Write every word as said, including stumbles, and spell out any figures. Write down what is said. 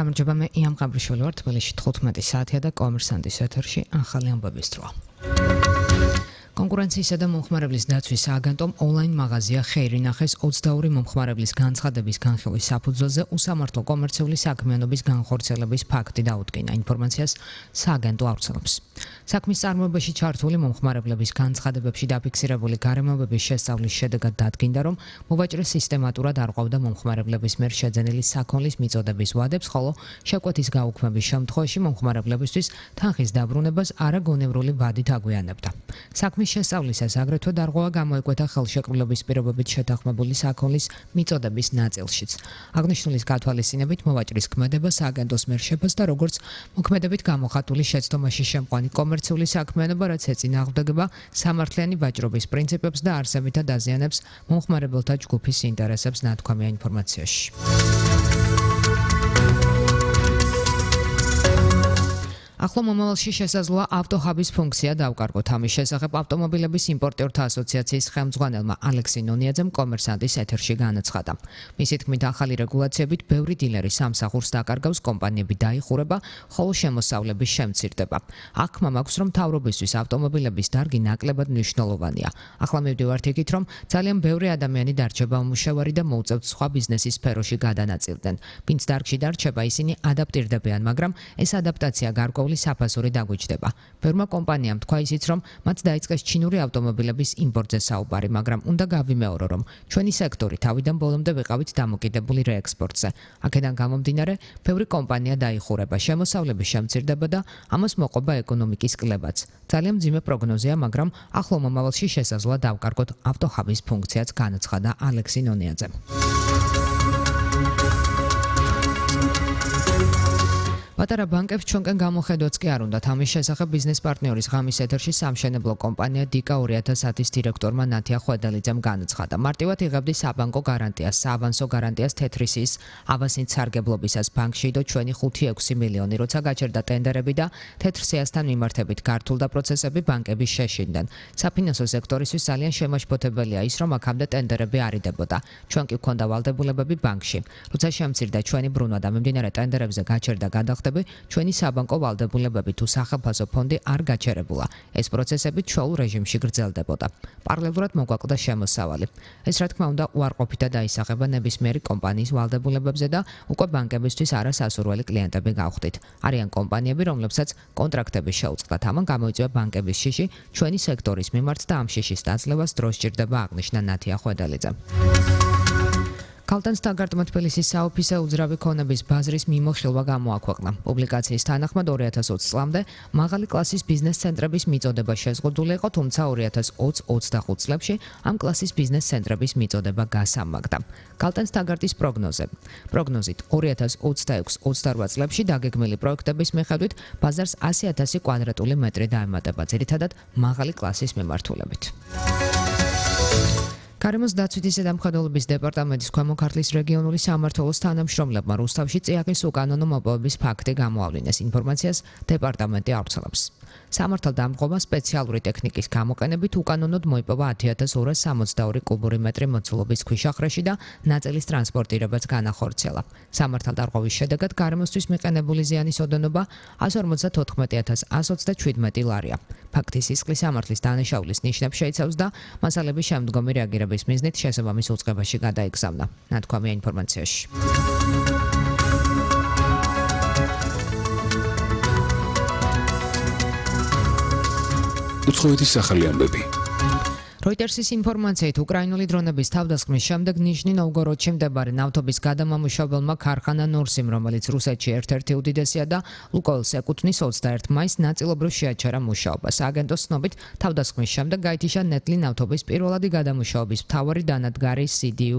გამარჯობა, მე იამ ყაბრიშვილი ვარ, თბილისში თხუთმეტი საათია და კომერსანტის ეთერში ახალი ამბების დროა. კონკურენციისა და მომხმარებლის დაცვის სააგენტომ ონლაინ მაღაზია ხეირი ნახეს ოცდაორი მომხმარებლის განცხადების განხილვის საფუძველზე უსამართლო კომერციული საქმიანობის განხორციელების ფაქტი დაუდგინა. ინფორმაციას სააგენტო ავრცელებს. საქმის წარმოებაში ჩართული მომხმარებლების განცხადებებში დაფიქსირებული გარემოებების შესწავლის შედეგად დადგინდა, რომ მოვაჭრე სისტემატურად არღვევდა მომხმარებლების მიერ შეძენილი საქონლის მიწოდების ვადებს, ხოლო შეკვეთის გაუქმების შემთხვევაში მომხმარებლებისთვის თანხის დაბრუნებას არაგონევრული ვადით აგვიანებდა. საქმის შესწავლისას აგრეთვე დარღვევა გამოიკვეთა ხელშეკრულების პირობებით შეთანხმებული საქონლის მიწოდების ნაწილშიც. აღნიშნულის გათვალისწინებით მოვაჭრის ქმედება სააგენტოს მიერ შეფასდა როგორც მოქმედებით გამოხატული შეცდომაში შემყვანი კომერციული საქმიანობა, რაც ეწინააღმდეგება სამართლიანი ვაჭრობის პრინციპებს და არსებითად აზიანებს მომხმარებელთა ჯგუფის ინტერესებს, ნათქვამია ინფორმაციაში. ახლო მომავალში შესაძლოა ავტოჰაბის ფუნქცია დავკარგოთ. ამის შესახებ ავტომობილების იმპორტიორთა ასოციაციის ხელმძღვანელმა ალექსი ნონიაძემ კომერსანტის ეთერში განაცხადა. მისი თქმით, ახალი რეგულაციებით ბევრი დილერი სამსახურს დაკარგავს, კომპანიები დაიხურება, ხოლო შემოსავლების შემცირდება. აღქმა მაქვს, რომ მთავრობისთვის ავტომობილების დარგი ნაკლებად მნიშვნელოვანია. ახლა მივდივართ იქით, რომ ძალიან ბევრი ადამიანი დარჩება უმუშევარი და მოუწევთ სხვა ბიზნესის სფეროში გადანაწილდნენ. ვინც დარგში დარჩება, ისინი ადაპტირდებიან, მაგრამ ეს ადაპტაცია გარკვეული საფასური დაგვიჯდება. ბევრმა კომპანიამ თქვა ისიც, რომ მათ დაიწყეს ჩინური ავტომობილების იმპორტზე საუბარი, მაგრამ უნდა გავიმეორო, რომ ჩვენი სექტორი თავიდან ბოლომდე ვიყავით დამოკიდებული რეექსპორტზე. აქედან გამომდინარე, ბევრი კომპანია დაიხურება, შემოსავლების შემცირდება და ამას მოყვება ეკონომიკის კლებაც. ძალიან მძიმე პროგნოზია, მაგრამ ახლო მომავალში შესაძლოა დავკარგოთ ავტოჰაბის ფუნქციაც, განაცხადა ალექსი ნონიაძემ. პატარა ბანკებს ჩვენკენ გამოხედვაც კი არ უნდათ. ამის შესახებ ბიზნეს პარტნიორის ღამის ეთერში სამშენებლო კომპანია დიკა ორი ათას ათის დირექტორმა ნათია ხვედელიძემ განაცხადა. მარტივად იღებდი საბანკო გარანტიას, საავანსო გარანტიას თეთრისის ავასით სარგებლობისას ბანკში და ჩვენი ხუთი ექვსი მილიონი, როცა გაჩერდა ტენდერები და თეთრსიასთან მიმართებით გართულდა პროცესები, ბანკები შეშინდნენ. საფინანსო სექტორისთვის ძალიან შემაშფოთებელია ის, რომ აქამდე ტენდერები არ იდებოდა. ჩვენ კი გვქონდა ვალდებულებები ბანკში. როცა შემცირდა ჩვენი ბრუნვა და მიმდინარე ტენდერებზე გაჩერდა გადახდა ჩვენი საბანკო ვალდებულებები თუ სახელმწიფო ფონდი არ გაჩერებულა. ეს პროცესები ჩვეულ რეჟიმში გრძელდებოდა. პარალელურად მოგვაკლდა შემოსავალი. ეს რა თქმა უნდა უარყოფითად აისახება ნებისმიერი კომპანიის ვალდებულებებზე და უკვე ბანკებისთვის არასასურველი კლიენტები გავხდით. არიან კომპანიები, რომლებსაც კონტრაქტები შეუწყდათ. ამან გამოიწვია ბანკების შიში ჩვენი სექტორის მიმართ და ამ შიშის დაძლევას დრო სჭირდება, აღნიშნა ნათია ხვედელიძემ. ქალთან სტაგარტმა თბილისის საოფისე უძრავი ქონების ბაზრის მიმოხილვა გამოაქვეყნა. პუბლიკაციის თანახმად ორი ათას ოცი წლამდე მაღალი კლასის ბიზნეს ცენტრების მიწოდება შეზღუდული იყო, თუმცა ორი ათას ოცი ოცდახუთ წლებში ამ კლასის ბიზნეს ცენტრების მიწოდება გასამაგდა. ქალთან სტაგარტის პროგნოზე. პროგნოზით ორი ათას ოცდაექვსი ოცდარვა წლებში დაგეგმილი პროექტების მიხედვით ბაზარს ასი ათასი კვადრატული მეტრი დაემატება, ძირითადად მაღალი კლასის მიმართულებით. გარემოს დაცვითი ზედამხედველობის დეპარტამენტის ქვემო ქართლის რეგიონული სამმართველოს თანამშრომლებმა რუსთავში წიაღის უკანონო მოპოვების ფაქტი გამოავლინეს. ინფორმაციას დეპარტამენტი ავრცელებს. სამართალდამღობა სპეციალური ტექნიკის გამოყენებით უკანონოდ მოიპოვა ათი ათას ორას სამოცდაორი კუბური მეტრი მოცულობის ქვიშახრეში და ნაწილის ტრანსპორტირებაც განახორციელა. სამართალდამღობის შედეგად გარემოსთვის მიყენებული ზიანის ოდენობა ასი ორმოცდათოთხმეტი ათას ასი ოცდაჩვიდმეტი ლარია. ფაქტის სისხლის სამართლის დანაშაულის ნიშნებს შეიცავს და მასალების შემდგომი რეაგირების მიზნით შესაბამის უწყებაში გადაიგზავნა. ნათქვამია ინფორმაციაში. უცხოეთის ახალი ამბები. როიტერსის ინფორმაციით, უკრაინული დრონების თავდასხმის შემდეგ ნიჟნი-ნოვგოროდში მდებარე ნავთობის გადამამუშავებელმა ქარხანა ნორსიმ, რომელიც რუსეთში ერთ-ერთი უდიდესია და ლუკოილს ეკუთვნის, ოცდაერთი მაისს ნაწილობრივ შეაჩერა მუშაობა. სააგენტოს ცნობით, თავდასხმის შემდეგ გაითიშა ნეტლი ნავთობის პირველადი გადამუშავების მთავარი დანადგარი სი დი იუ